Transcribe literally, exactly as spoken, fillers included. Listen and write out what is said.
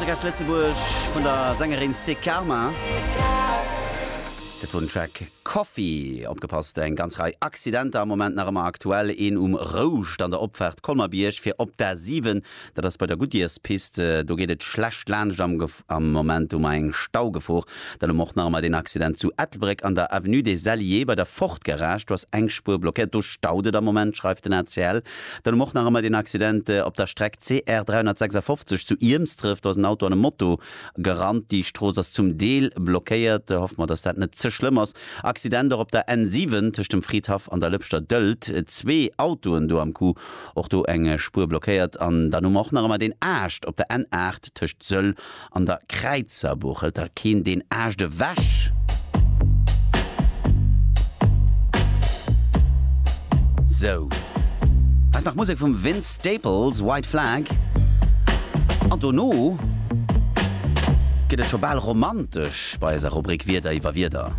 Musek aus Lëtzebuerg vun der Sängerin Sekarma. Dat wor den Track Coffee. Opgepasst, eng ganz Rei Accidenter am Moment nach ëmmer aktuell. Een um Rouscht an der Opfaart Colmer-Bierg fir op d'A siwen, dat ass bei der Goodyearspist. Do geet et schlecht laanscht am am Moment hu mer eng Staugefor. Dann hu mer och nach ëmmer deen Accident zu Ettelbréck an der Avenue des Alliés bei der Ford Garage. Do ass eng Spuer blockéiert, do staut et am Moment, schreift den A C L. Dann hu mer och nach ëmmer deen Accident op der Streck C R dräihonnertsechsafofzeg zu Iermsdref. Do ass en Auto an e Moto gerannt. Déi Strooss ass zum Deel blockéiert. Hoffe mer, dass dat net ze schlëmm ass. Accident och op der N siwen tëscht dem Fridhaff an der Lëpschter Dëlt. Zwee Autoen do am Coup, och do eng Spuer blockéiert. An dann hu mer och nach ëmmer deen Aascht op der N aacht tëscht Sëll an der Kräizerbuch. Hëlt da keen deen Aascht ewech? Sou, hei ass nach Musek vum Vince Staples, White Flag. An dono gëtt et scho bal romantesch bei eiser Rubrik Wieder iwwer Wieder.